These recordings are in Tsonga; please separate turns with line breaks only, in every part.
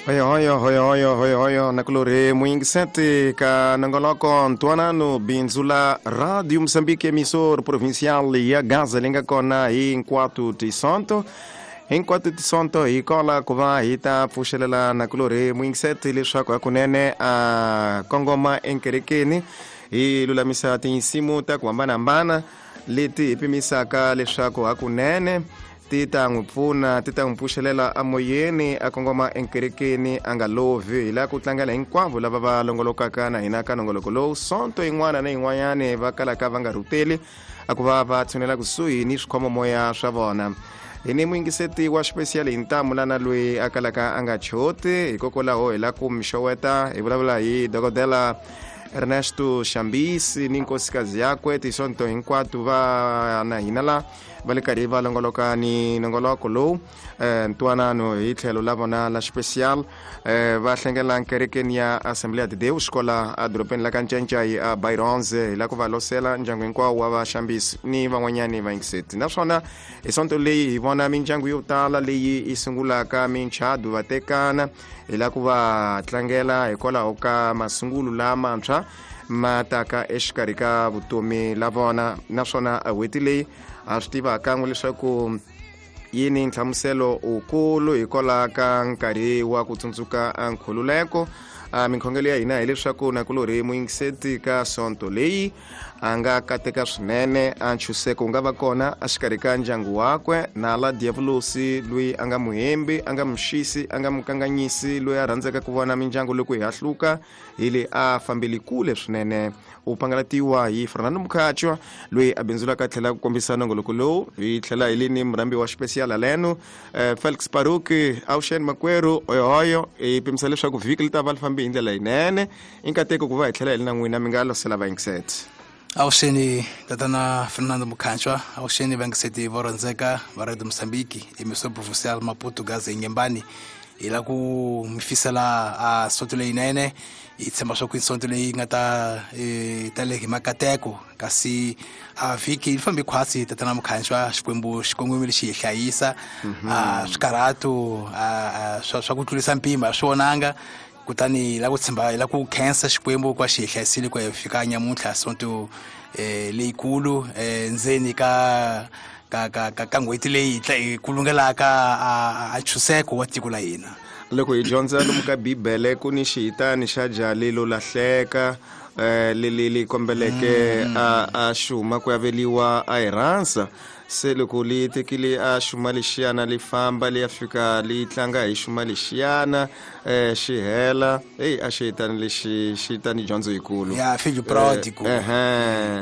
Hoyohoyo, hoyohoyo, hoyohoyo, nakulorhi muyingiseti ka nongoloko ntwanano bindzu la Radio Moçambique, emissor provincial ya Gaza leyi nga kona hinkwato tisonto, hinkwato tisonto hi kola ku va hi ta pfuxelela nakulorhi muyingiseti leswaku hakunene a kongoma enkerekeni. Hi lulamisa tinsimu ta ku hambanahambana leti hi pimisaka leswaku hakunene ti ta n'wi pfuna, ti ta n'wi pfuxelela amoyeni a kongoma enkerekeni a nga lovhi. Hi lava ku tlangela hinkwavo lava va longolokaka na hina ka nongoloko lowu sonto yin'wana na yin'wanyani va kalaka va nga rhuteli a ku va va tshunela kusuhi ni swikhomomoya swa vona. Hi ni muyingiseti wa xipesiyali hi ntamu lana loyi a kalaka a nga choti, hikokwalaho hi lava ku mi xoweta. Hi vulavula hi dokodela Ernesto Xambisi ni nkosikazi yakwe. Tisonto hinkwato va na hina la va le karhi va longoloka ni nongoloko lowu ntwanano hi tlhelo la vona la special. Va hlengela kerekeni ya Assemblea de Deus kola edorobeni la ka Ncencai a Baironze. Hi la ku va losela ndyangu hinkwawo wa vaxambisi ni van'wanyani vayingiseti. Naswona hi sonto leyi hi vona mindyangu yo tala leyi yi sungulaka minchado, va tekana. Hi la ku va tlangela hikwalaho ka masungulo lamantshwa ma taka exikarhi ka vutomi la vona. Naswona n'hweti leyi ha swi tiva kan'we leswaku yi ni nhlamuselo wukulu hikwalaho ka nkarhi wa ku tsundzuka nkhululeko. Minkhongelo ya hina hileswaku nakulorhi muyingiseti ka sonto leyi a nga kateka swinene, a ntshunxeko wu nga va kona exikarhi ka ndyangu wakwe na la diavulosi loyi a nga muhembi, a nga muxisi, a nga mukanganyisi, loyi a rhandzaka ku vona mindyangu loko hi hahluka hi le a fambeli kule swinene. U pangalatiwa hi Fernando Mukhatshwa loyi a bindzulaka a tlhela ku kombisa nongoloko lowu. Hi tlhela hi le ni murhambi wa xipesiyala leno Felix Paruki. Awuxeni makwerhu, hoyohoyo. Hi pimisa leswaku vhiki li ta va li fambi hi ndlela yinene. I nkateko ku va hi tlhela hi li na n'wina, mi nga losela vayingiseti.
Awuxeni tatana Fernando Mukhatshwa, awuxeni vayingiseti vo rhandzeka va Radio Moçambique, emissor provincial Maputo Gaza Inhambane. Hi la ku mi fisela a sonto leyinene. Hi tshemba swa ku i sonto leyi nga ta tale hi makateko, kasi a vhiki yi fambe khwatsi tatana Mukhatshwa. Xikwembu xikongomelo xi hi hlayisa, a swikarhato swa ku tlurisa mpimo a swi vonanga. Kutani hi la ku tshemba, hi la ku khensa Xikwembu ku va xi hi hlayisile ku ya fika nyamuntlha sonto leyikulu ndzeni ka ka ka ka ka n'hweti leyi hi kulungelaka a ntshunxeko wa tiko la hina.
Loko hi dyondza lomu ka Bibele ku ni xihitani xa jali lo lahleka leli li kombeleke a xuma ku aveliwa a hi rhansa. Se loko li tekile a xuma lexiyana li famba li ya fika li tlanga hi xuma lexiyana xi hela. Eyi, a xihitani lexi xi ta ni dyondzo yikulu.
Ya, fijo prodigo.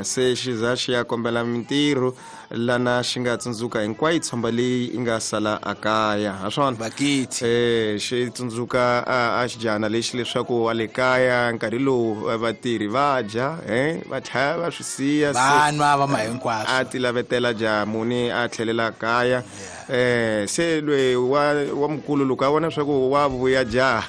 Se xi za xi ya kombela mintirho lana xi nga tsundzuka hinkwayo tshomba leyi yi nga sala a kaya. Ha swona?
Bakiti.
Xi tsundzuka a xijana lexi leswaku wa le kaya nkarhi lowu vatirhi va dya, va tlhaya va swi siya, se
Va nwa va ma hinkwaswo.
A ti lavetela jamuni a tlhelela kaya. Se loyi wa mukulu loko a vona swa ku wa vuya jaha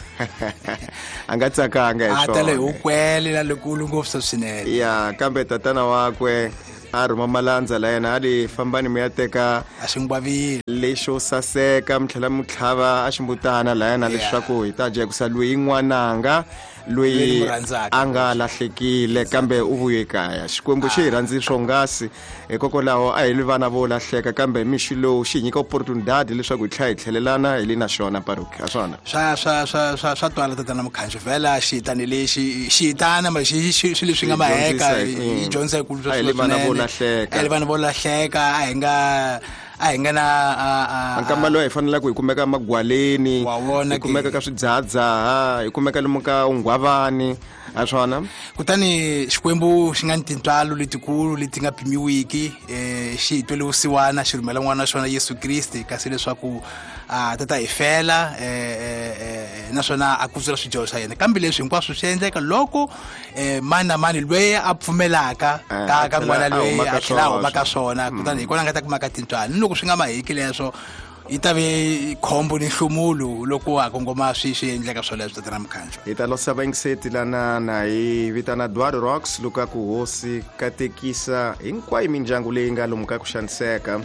a nga tsakanga hi
A tale hi
swona.
ukwele la lekulu ngopfu swinene.
Ya, kambe tatana wakwe a rhuma malandza la yena a li fambani mi ya teka
a xingwavile
lexo saseka, mi tlhela mi tlhava a ximbutana la yena leswaku hi ta dya, hikusa loyi n'wananga loyi
Loyi ni n'wi rhandzaka.
a nga lahlekile kambe u vuye kaya. Xikwembu xi hi rhandzi swonghasi, hikokwalaho a hi li vana vo lahleka, kambe mixi lowu xi hi nyika opportunidade leswaku hi tlhela hi tlhelelana hi li na xona. Paruki, ha swona?
Swa twala tatana Mukhanyo, vhela xihitani lexi xihitana ma xi xi swilo leswi nga
Xi
maheka,
dyondzisa hi-
hi dyondzisa hi ku
A hi li vana vo lahleka.
A hi li vana vo lahleka, a hi nga, a hi nga na, a, a,
Nkamba loyi hi fanelaka hi kumeka magwaleni,
Wa vona
hi kumeka
ke.
ka swidzahadzaha, hi kumeka lomu ka unghwavani, ha swona?
Kutani Xikwembu xi nga ni tintswalo letikulu leti nga pimiwiki, xi hi twele vusiwana, xi rhumela n'wana wa xona Yesu Kriste, kasi leswaku a ta ta hi fela, naswona a kutsula swidyoho swa yena. Kambe leswi hinkwaswo swi endleka loko mani na mani loyi a pfumelaka
A
ka
tlhela
n'wana
a
loyi
huma ka
a tlhela a huma ka
swona.
swona. Kutani hi kona a nga ta kumaka tintswalo. Ni loko swi nga maheki leswo, yi ta ve khombo ni nhlumulo loko a kongoma swi endleka swoleswo tatana Mukhanyo.
Hi ta losa vayingiseti lana na hi vitana Eduardo Rocks loko a ku hosi katekisa hinkwayo mindyangu leyi nga lomu ka ku xaniseka.